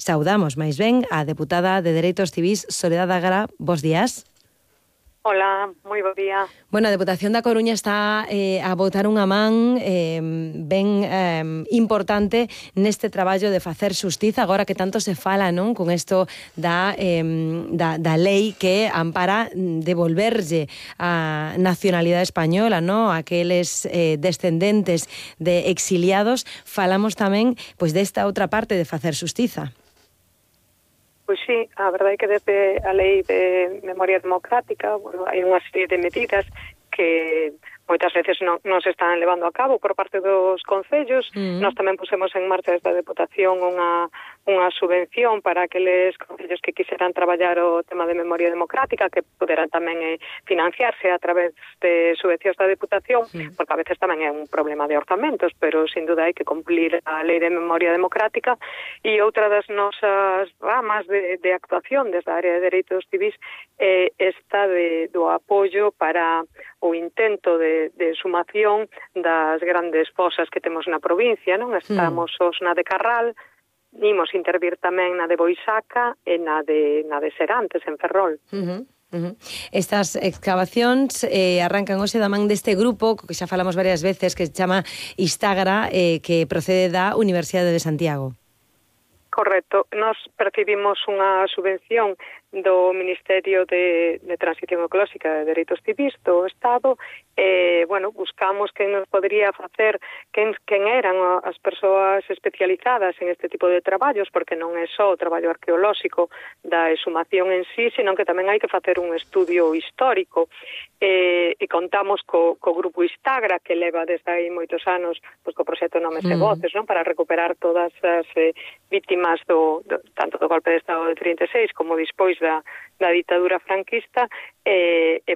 saudamos máis ben a deputada de Dereitos Civís Soledad Agra. Bos días. Hola, moi bo día. Bueno, a Deputación da Coruña está a botar unha man ben importante neste traballo de facer xustiza, agora que tanto se fala, non, con isto da lei que ampara devolverlle a nacionalidade española, non, aqueles descendentes de exiliados. Falamos tamén pois desta outra parte de facer xustiza. Pois sí, a verdade é que desde a Lei de Memoria Democrática, bueno, hai unha serie de medidas que moitas veces non se están levando a cabo por parte dos concellos. Nós tamén pusemos en marcha esta Deputación unha subvención para aqueles concellos que quixeran traballar o tema de memoria democrática, que poderán tamén financiarse a través de subvencións da Deputación, porque a veces tamén é un problema de orzamentos, pero sin duda hai que cumplir a Lei de Memoria Democrática. E outra das nosas ramas de actuación desde a área de Dereitos Civís esta do apoio para o intento de sumación das grandes fosas que temos na provincia, non? Estamos os na de Carral, imos intervir tamén na de Boisaca e na de Serantes, en Ferrol. Estas excavacións arrancan hoxe da man deste grupo que xa falamos varias veces, que se chama Istagra, que procede da Universidade de Santiago. Correcto. Nos percibimos unha subvención do Ministerio de Transición Ecolóxica de Dereitos Civís do Estado. Bueno, buscamos quen nos podría facer, quen eran as persoas especializadas en este tipo de traballos, porque non é só o traballo arqueolóxico da exhumación en sí, senón que tamén hai que facer un estudio histórico. E contamos co grupo Istagra, que leva desde aí moitos anos pois, co proxecto Nomes e Voces, non, para recuperar todas as vítimas tanto do golpe de Estado de 36 como despois da ditadura franquista.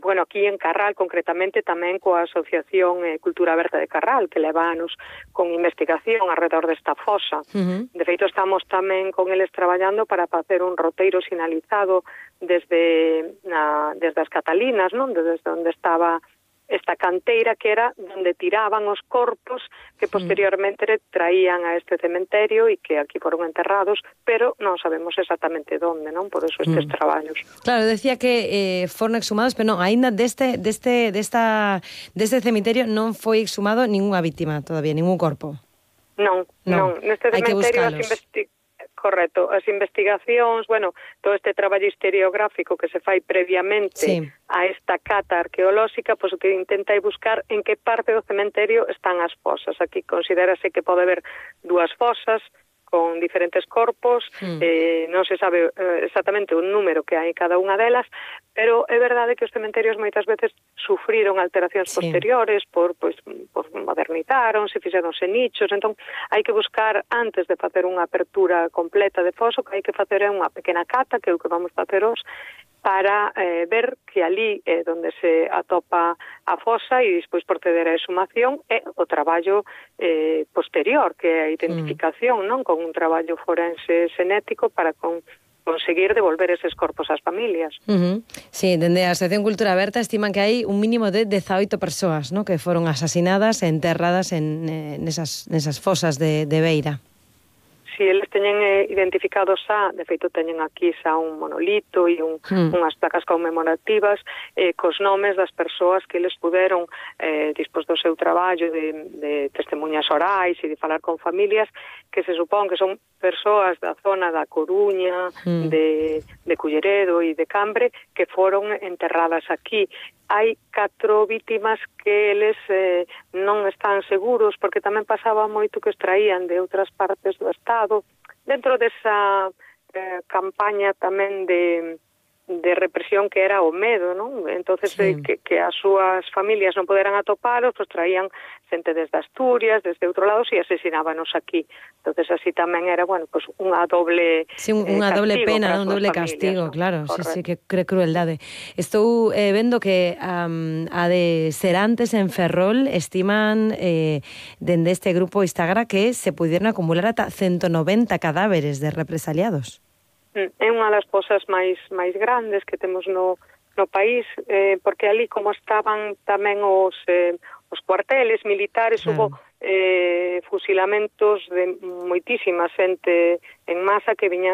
Bueno, aquí en Carral, concretamente, tamén coa Asociación Cultura Aberta de Carral, que leva anos con investigación alrededor desta fosa. De feito, estamos tamén con eles traballando para facer un roteiro sinalizado desde as Catalinas, non? Desde onde estaba esta canteira, que era onde tiraban os corpos que posteriormente traían a este cementerio e que aquí foron enterrados, pero non sabemos exactamente onde, non? Por eso estes traballos. Claro, decía que foron exhumados, pero non, aínda deste cemiterio non foi exhumado ninguna víctima todavía, ningún corpo. Non. Neste cementerio Correcto, as investigacións, bueno, todo este traballo historiográfico que se fai previamente a esta cata arqueolóxica, pois o que intenta é buscar en que parte do cementerio están as fosas. Aquí considérase que pode haber dúas fosas con diferentes corpos, non se sabe exactamente o número que hai en cada unha delas, pero é verdade que os cementerios moitas veces sufriron alteracións posteriores por modernizaron, se fixeronse nichos, entón hai que buscar, antes de facer unha apertura completa de foso, que hai que facer unha pequena cata, que é o que vamos facer hoxe, para ver que ali é onde se atopa a fosa e despois proceder a exhumación e o traballo posterior, que é a identificación, non, con un traballo forense xenético para conseguir devolver eses corpos ás familias. Sí, dende a Asociación Cultura Aberta estiman que hai un mínimo de 18 persoas, ¿no?, que foron asasinadas e enterradas nesas fosas de Beira. Si eles teñen identificados de feito teñen aquí xa un monolito e unhas placas conmemorativas cos nomes das persoas que eles puderon, despois do seu traballo de testemunhas orais e de falar con familias, que se supón que son persoas da zona da Coruña, de Culleredo e de Cambre, que foron enterradas aquí. Hai 4 vítimas que eles non están seguros, porque tamén pasaba moito que os traían de outras partes do Estado, dentro desa campaña tamén de represión que era o medo, non? Entonces, que as súas familias non poderan atoparos, pues traían xente desde Asturias, desde outro lado, e asesinábanos aquí. Entonces, así tamén era, bueno, pues unha doble unha doble pena, un doble castigo, claro. Sí, que crueldade. Estou vendo que a de Serantes en Ferrol estiman dende este grupo Istagra que se pudieron acumular ata 190 cadáveres de represaliados. É unha das fosas máis grandes que temos no país, porque ali como estaban tamén os cuarteles militares, hubo fusilamentos de moitísima xente en masa que viñan